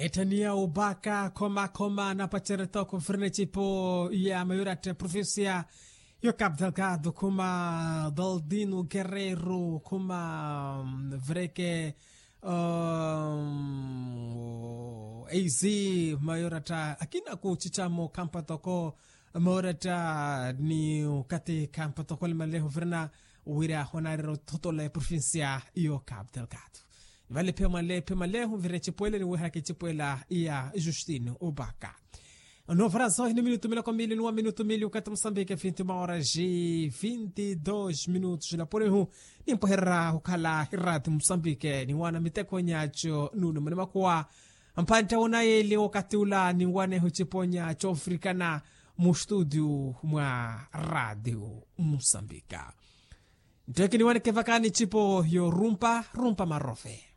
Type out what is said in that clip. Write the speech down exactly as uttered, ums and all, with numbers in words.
Ettaniya opaka khomakhoma napacerya tooko firina ecipo ya mayoratta provincia yo capital gado khuma daldino guerrero khuma vreke. Eizi mayoratta akina kucicamo khampa toko mayoratta ni okathi khampa toko limaleho firina wira honarira othotola eprovincia yo capital gado. Vale phe maleho vira ecipo ele niwehaka ecipo ela iya justine opaka. Novaraso hini minutu miloko mili nuwa minutu mili okathi musambike vinti maora ji vinti dos minutu jilapurihu. Nimpweherera okhala hirati musambike niwana miteko nyaco nunu muni makuwa. Mpantta wonayeli okathi ula niwaneho ecipo nyaco ofirikana mustudio mwa radio musambika. Ntteke niwaneke vakani ecipo yo rumpa rumpa marove.